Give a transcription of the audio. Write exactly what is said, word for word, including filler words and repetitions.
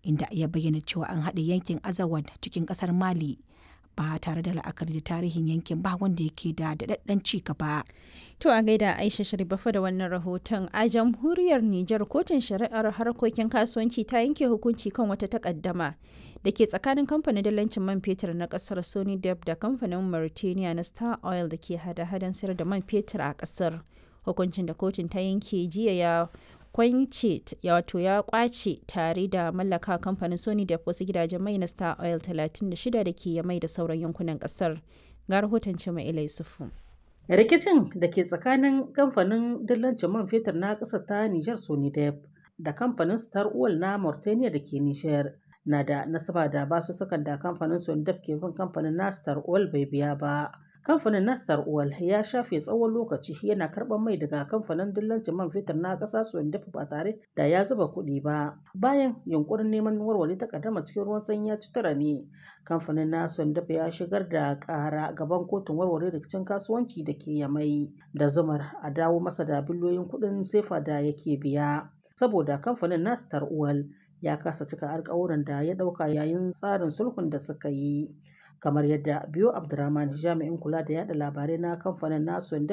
Inda ya bayyana cewa an haɗe yankin Azawad cikin ƙasar Mali ba tare da la'akari da tarihin yankin ba wanda yake da daɗaɗɗen ci gaba. To a gaida Aisha Sharifafa da wannan rahoton. A jamhuriyar Nijar, kotun shari'ar harkokin kasuwanci ta yanke hukunci kan wata takaddama da ke tsakanin kamfanin dalancin man fetur na kasar Sony Dep da kamfanin Mauritania na Star Oil da ke hada-hadan sayar da man fetur a kasar. Hukuncin da kotun ta yanke jiya ya kwance, wato ya kwace tare da mallaka kamfanin Sony da wasu gidajen mai na Star Oil talatin da shida da ke mai da sauran yankunan kasar. Ga rahoton Cima Ilai Sufu. Rikicin da ke tsakanin kamfanin dillancin man fetur na ƙasar ta Nijar Sonidep da kamfanin Star Oil na Mauritania da ke Nijar na da nasaba da basussukan da kamfanin Sonidep ke bin kamfanin na Star Oil bai biya ba. Kamfanin na Star Oil ya shafe tsawon lokaci yana karɓar mai daga kamfanin dillancin man fetur na ƙasa Sonidep ba tare da ya zuba kuɗi ba. Bayan yunkurin neman warware takaddama cikin ruwan sanyi ya ci tura ne, kamfanin na Sonidep ya shigar da ƙara gaban kotun warware rikicin kasuwanci da ke Yamai da zumar a dawo masa da biliyoyin kuɗin sefa da yake biya. Saboda kamfanin na Star Oil ya kasa cika alkawuran da ya ɗauka yayin tsarin sulhun da suka yi. Kamar yadda Biyo Abdurrahman, jami'in kula da yada labarai na kamfanin nasu, ya